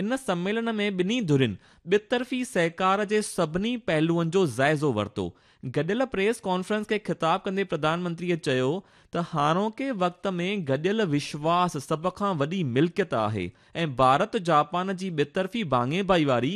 ان سميلن ۾ ٻنهي ڌرين ٻطرفي سهڪار جي سڀني پهلوئن جو جائزو ورتو. گڏيل پريس ڪانفرنس کي خطاب ڪندي پرڌان منتريء چيو ته هاڻوڪي وقت ۾ گڏيل وشواس سڀ کان وڏي ملڪيت آهي ۽ ڀارت جاپان جي ٻطرفي ڀاڱي ڀائيواري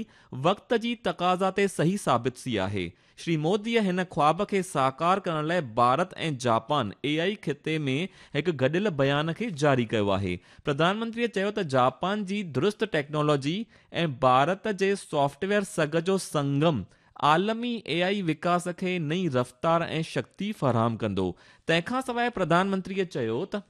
وقت جي تقاضا تي صحيح ثابت ٿي آهي. شري موديء هن خواب کي ساڪار ڪرڻ لاء ڀارت ۽ جاپان اي آء خطي ۾ هڪ گڏيل بيان کي جاري ڪيو آهي. پرڌان منتريء چيو ته جاپان جي درست ٽيڪنالاجي ۽ ڀارت جي سافٽ ويئر سگهه جو سنگم عالمي اي آء وڪاس کي نئين رفتار ۽ شڪتي فراهم ڪندو. تنهن کانسواء پرڌان منتريء چيو ته.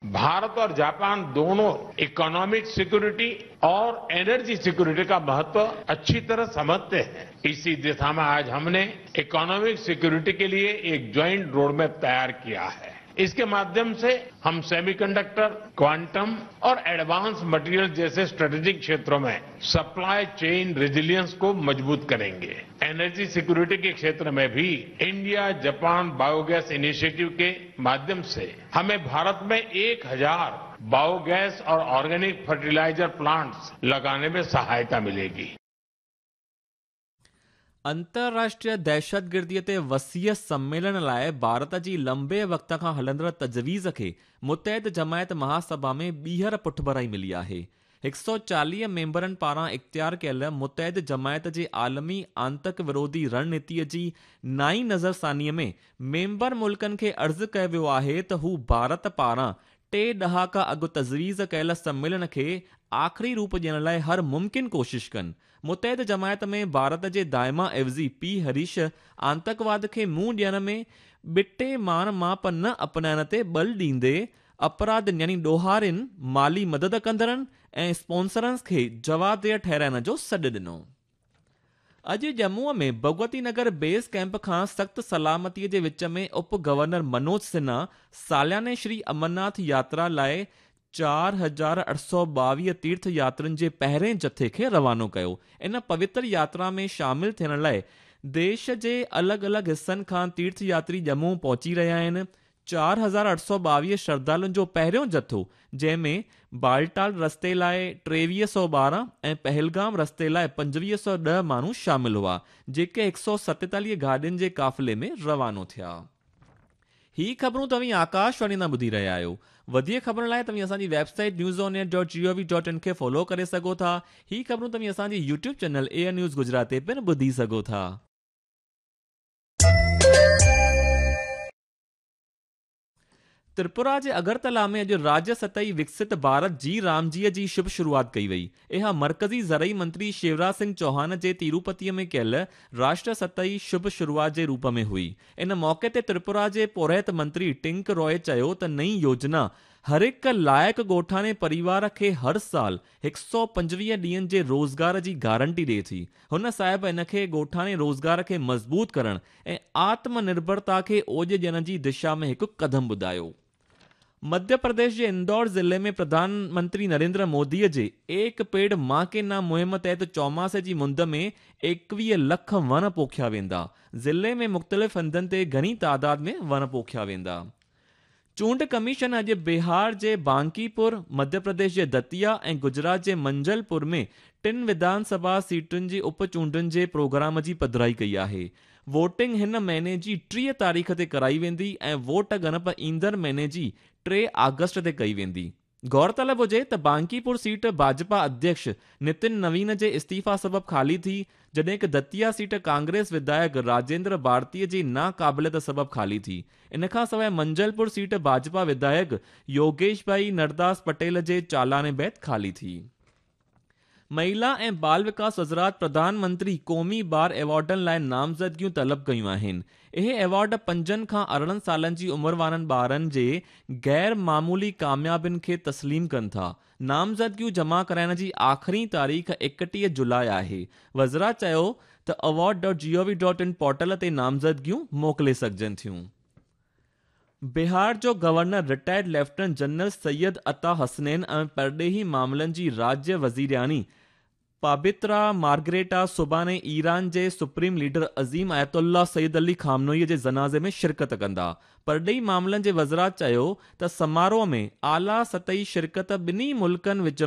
भारत और जापान दोनों इकोनॉमिक सिक्योरिटी और एनर्जी सिक्योरिटी का महत्व अच्छी तरह समझते हैं। इसी दिशा में आज हमने इकोनॉमिक सिक्योरिटी के लिए एक ज्वाइंट रोडमैप तैयार किया है। इसके माध्यम से हम सेमीकंडक्टर, क्वांटम और एडवांस मटेरियल जैसे स्ट्रेटेजिक क्षेत्रों में सप्लाई चेन रेजिलियंस को मजबूत करेंगे। एनर्जी सिक्योरिटी के क्षेत्र में भी इंडिया जापान बायोगैस इनिशिएटिव के माध्यम से हमें भारत में 1000 बायोगैस और ऑर्गेनिक फर्टिलाइजर प्लांट्स लगाने में सहायता मिलेगी। अंतर्राष्ट्रीय दहशतगर्दीअ ते वसीअ सम्मेलन लाइ भारत जी लंबे वक़्त खां हलंदड़ तजवीज़ खे मुतहद जमायत महासभा में ॿीहर पुठभराई मिली आहे। 140 मेंबरनि पारां इख़्तियार कयल मुतहद जमायत जे आलमी आंतक विरोधी रणनीतीअ जी नाئين नज़रसानीअ में मेंबर मुल्कनि खे अर्ज़ कयो वियो आहे त हू भारत पारां 3 ڏهاڪا اڳ تجويز ڪيل سميلن کي آخري روپ ڏيڻ لاءِ هر ممڪن ڪوشش ڪن. متحد جماعت ۾ ڀارت جي دائما عيوضي پي هريش آتنڪواد کي منهن ڏيڻ ۾ ٻٽي ماڻ ماپ نه اپنائڻ تي ٻل ڏيندي اپراڌين يعني ڏوهارين، مالي مدد ڪندڙن ۽ اسپانسرن کي جوابده ٺهرائڻ جو سڏ ڏنو. اڄ ڄمون ۾ ڀڳونتي نگر بيس ڪئمپ کان سخت سلامتي جي وچ ۾ اپ گورنر منوج سنها سالياني شري امرناٿ ياترا لاءِ 4822 تيرٿ ياترين جي پهرين جٿي کي روانو ڪيو. ان پوتر ياترا ۾ شامل ٿيڻ لاءِ ديش جي الڳ الڳ حصن کان تيرٿ ياتري ڄمون پهچي رهيا آهن. 4822 شرڌالن جو پهريون جٿو، جنهن ۾ بالٽال رستي لاءِ 2312 ۽ پهلگام رستي لاءِ 2510 ماڻهو شامل هئا، جيڪي 147 گاڏين جي قافلي ۾ روانو ٿيا. هي خبرون توهين آڪاشواڻي تان ٻڌي رهيا آهيو. وڌيڪ خبرن لاءِ توهين اسان جي website news on air dot G O V dot in کي فالو ڪري سگهو ٿا. هي خبرون توهين اسان جي YouTube channel A I news Gujarat تي پڻ ٻڌي سگهو ٿا. تريپورا جي اگرتلا ۾ اڄ راجيه سطحي وڪست ڀارت جي رامجي جي شڀ شروعات ڪئي وئي. اها مرڪزي زرعي منتري شيوراج سنگهه چوهان جي تيروپتي ۾ ڪيل راشٽر سطحي شڀ شروعات جي روپ ۾ هئي. ان موقعي تي تريپورا جي پورهيت منتري ٽنڪ روءِ چيو ته نئين يوجنا هر هڪ لائق ڳوٺاڻي پريوار کي هر سال 125 ڏينهن جي روزگار جي گارنٽي ڏئي ٿي. هن صاحب ان کي ڳوٺاڻي روزگار کي مضبوط ڪرڻ ۽ آتم نرڀرتا کي اوڄ ڏيڻ جي دشا ۾ هڪ قدم ٻڌايو. مڌيه پرديش جي اندور ضلعي ۾ پرڌان منتري نريندر موديء جي ايڪ پيڙ مان ڪي نام مهم تحت چوماسي جي مند ۾ 21 لک وڻ پوکيا ويندا. ضلعي ۾ مختلف هنڌن تي گهڻي تعداد ۾ وڻ پوکيا ويندا. چونڊ ڪميشن اڄ بهار جي بانڪيپور، مڌيه پرديش جي دتيا ۽ گجرات جي منجلپور ۾ ٽن وڌان سڀا سيٽن جي اپ چونڊن جي پروگرام جي پڌرائي ڪئي آهي. ووٽنگ هن مهيني جي 30 تاريخ تي ڪرائي ويندي ۽ ووٽ ڳڻپ ايندڙ مهيني جي 3 آگسٽ تي ڪئي ويندي. غور طلب هجي ته بانڪيپور سيٽ ڀاجپا اڌيڪش نتن نوين جي استعيفيٰ سبب خالي ٿي، جڏهن ڪه دتيا سيٽ ڪانگريس وڌايڪ راجيندر ڀارتي جي ناقابليت سبب خالي ٿي. ان کان سواءِ منجلپور سيٽ ڀاجپا وڌايڪ يوگيش ڀائي نرداس پٽيل جي چالاني بعد خالي ٿي. مهلا ۽ بال وڪاس وزارت پرڌان منتري قومي ٻار ايوارڊن لاءِ نامزدگيون طلب ڪيون آهن. اهي ايوارڊ 5 کان 18 سالن جي عمر وارن ٻارن جي غير معمولي ڪاميابين کي تسليم ڪن ٿا. نامزدگيون جمع ڪرائڻ جي آخري تاريخ 31 جولاءِ آهي. وزارت چيو ته award dot G O V dot in portal تي نامزدگيون موڪلي سگهجن ٿيون. بهار جو governor retired lieutenant general Syed Ata Hasnain ۽ پرڏيهي معاملن جي راجيه وزيرياڻي پابترا مارگريٽا سڀاڻي ايران جي سپريم ليڊر عظيم آيت الله سيد علي خامنوئي جي جنازي ۾ شرڪت ڪندا. پرڏيهي معاملن جي وزارت چيو ته سماروهه ۾ اعليٰ سطحي شرڪت ٻنهي ملڪن وچ.